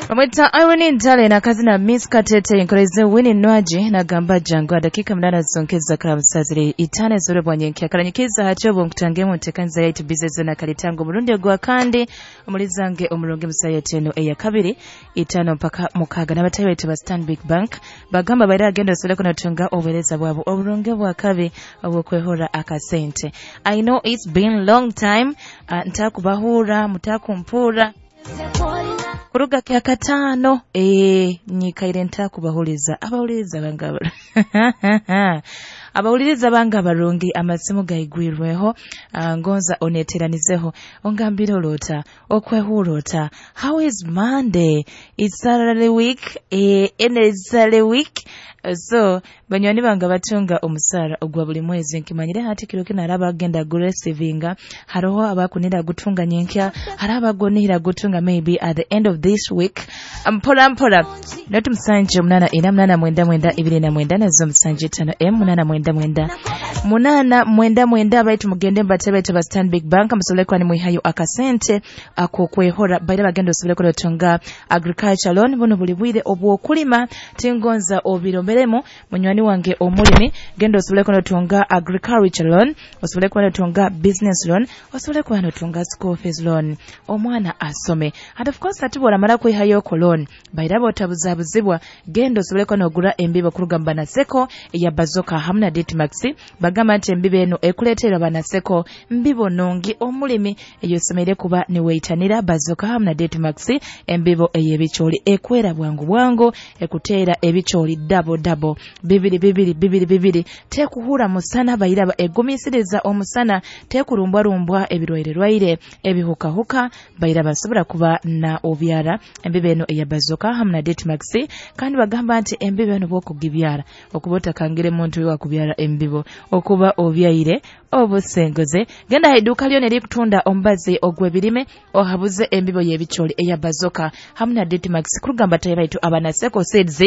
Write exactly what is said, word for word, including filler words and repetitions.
Bamwita Irene Ntale nakazina Miss Katete enkoreze Winnie Nwaji nagamba jangu. Dakika munana zonkeza karamusazire itano zore bwanyenke karanyikiza hachobo nkutangemu ntekanza yaitu bizezo na kalitango murundi gwa kandi omulizange omurungi musaya teno eya kabiri itano mpaka mukaga n'abatayi baitu ba Stanbic Bank bagamba baira agenda osole kunatunga obuhereza bwabo oburungi bwa kabi obwokwehora akasente. I know it's been long time, uh, ntakubahura mutakumpura kuruga kya katano eh nyikaire ntakubahuliza abawuliriza banga abawuliriza banga barungi amasimu gaigwirweho, uh, ngonza oneteranizeho ongambire olota okwehura ota. How is Monday? It's Saturday week, eh ene Saturday week. So banywani bange batunga omusara ogwa buli mwezi nkimanyire hati kiro kino araba agenda guresivinga, haroho abakunira gutunga nyenkya, hariho abagonihira gutunga maybe at the end of this week. Mpora mpora noti musanje munana ina munana mwenda mwenda ibiri na mwenda nazo musanje itano m munana mwenda mwenda munana mwenda mwenda. Baitu mugende mbatebe ba Stanbic Bank musobole kuba nimwihayo akasente akokwehora baira bagenda osobole kulotunga agriculture loan buno buli bwire obwokulima tingonza obiromberemu. Munywani wange omulimi genda osobole kulotunga agriculture loan, osobole kuba notunga business loan, osobole kuba notunga school fees loan, omwana asome. And of course ati bworamara kwihayo ko loan baira botabuzabuzibwa, genda osobole kuba nogura embibo kuruga mu banaseko eya Bazoka hamu na Ditmax. Bagamba nti embibo eno ekuleetera banaseko mbibo nungi omulimi eyosomeire kuba niweitanira Bazoka hamu na Ditmax, embibo ey'ebicooli ekwera bwangu bwangu, ekuteera ebicooli dabo dabo bibiri bibiri bibiri bibiri, tekuhura musana bairaba egumisiriza omusana, tekurumbwarumbwa ebirwaire ebihukahuka bairaba nsobora kuba na obyara embibo eno eya Bazoka hamu na Ditmax. Kandi bagamba nti embibo eno bwokugibyara okuba otakangire muntu wakubyara embibo okuba obyaire obusenguze. Genda haiduka lyo nerikutunda omubazi ogw'ebirime ohabuze embibo y'ebicooli eya Bazoka hamu na Ditmax kurugamba tayi baitu abanaseko seeds.